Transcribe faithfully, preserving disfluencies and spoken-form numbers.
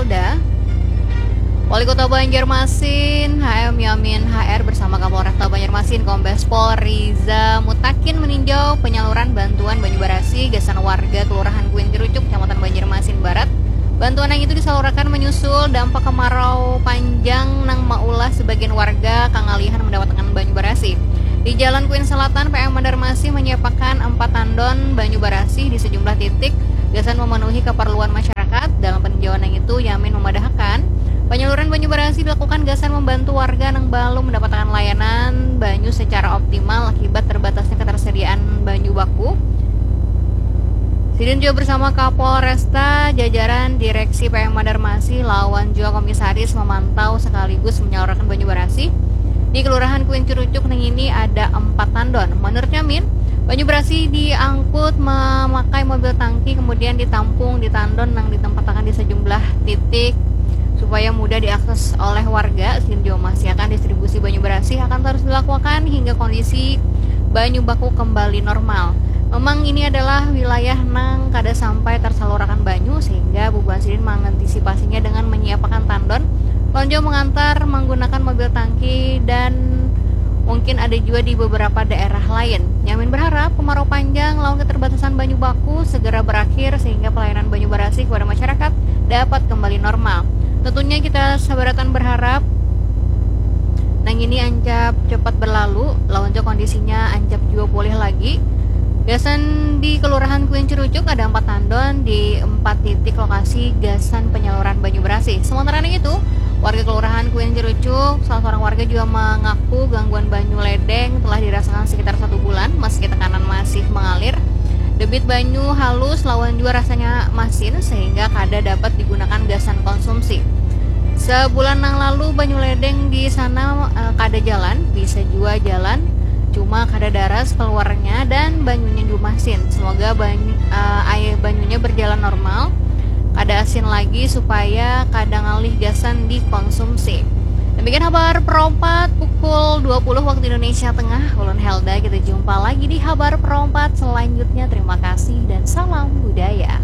Polda, Wali Kota Banjarmasin, H M Yamin H R bersama Kapolresta Banjarmasin, Kombes Pol Riza Mutakin meninjau penyaluran bantuan banyu barasih gasan warga Kelurahan Kuin Cerucuk, Kecamatan Banjarmasin Barat. Bantuan yang itu disalurakan menyusul dampak kemarau panjang nang maulah sebagian warga kangalihan mendapatkan banyu barasih. Di Jalan Kuin Selatan, P M Banjarmasin menyiapkan empat tandon banyu barasih di sejumlah titik gasan memenuhi keperluan masyarakat. Dalam peninjauan yang itu, Yamin memadahakan, penyaluran banyu barasih dilakukan gasan membantu warga nang balum mendapatkan layanan banyu secara optimal akibat terbatasnya ketersediaan banyu baku. Sidin juga bersama Kapolresta, jajaran Direksi P M Banjarmasin lawan juga komisaris memantau sekaligus menyalurkan banyu barasih di Kelurahan Kuin Cerucuk nang ini ada empat tandon. Menurut Yamin, banyu barasih diangkut memakai mobil tangki, kemudian ditampung di tandon nang ditempatakan di sejumlah titik supaya mudah diakses oleh warga. Sidin juga memastikan distribusi banyu barasih akan terus dilakukan hingga kondisi banyu baku kembali normal. Memang ini adalah wilayah nang kada sampai tersalurakan banyu, sehingga bubuhan sidin mengantisipasinya dengan menyiapakan tandon, lawan jua mengantar menggunakan mobil tangki, dan mungkin ada juga di beberapa daerah lain. Yamin berharap kemarau panjang lawan keterbatasan banyu baku segera berakhir sehingga pelayanan banyu barasih kepada masyarakat dapat kembali normal. Tentunya kita sabaratan berharap nang ini ancap cepat berlalu, lawan jua kondisinya ancap jua pulih lagi. Gasan di Kelurahan Kuin Cerucuk ada empat tandon di empat titik lokasi gasan penyaluran banyu barasih. Sementara nang itu, warga Kelurahan Kuin Cerucuk, salah seorang warga juga mengaku gangguan banyu ledeng telah dirasakan sekitar satu bulan, meski tekanan masih mengalir. Debit banyu halus lawan jua rasanya masin sehingga kada dapat digunakan gasan konsumsi. Sebulan nang lalu banyu ledeng di sana, eh, kada jalan, bisa jua jalan, cuma kada daras keluarnya dan banyunya jua masin. Semoga banyu, eh, air banyunya berjalan normal, kada asin lagi supaya kada ngalih gasan dikonsumsi. Demikian habar perompat pukul dua puluh waktu Indonesia Tengah. Ulun Helda, kita jumpa lagi di habar perompat selanjutnya. Terima kasih dan salam budaya.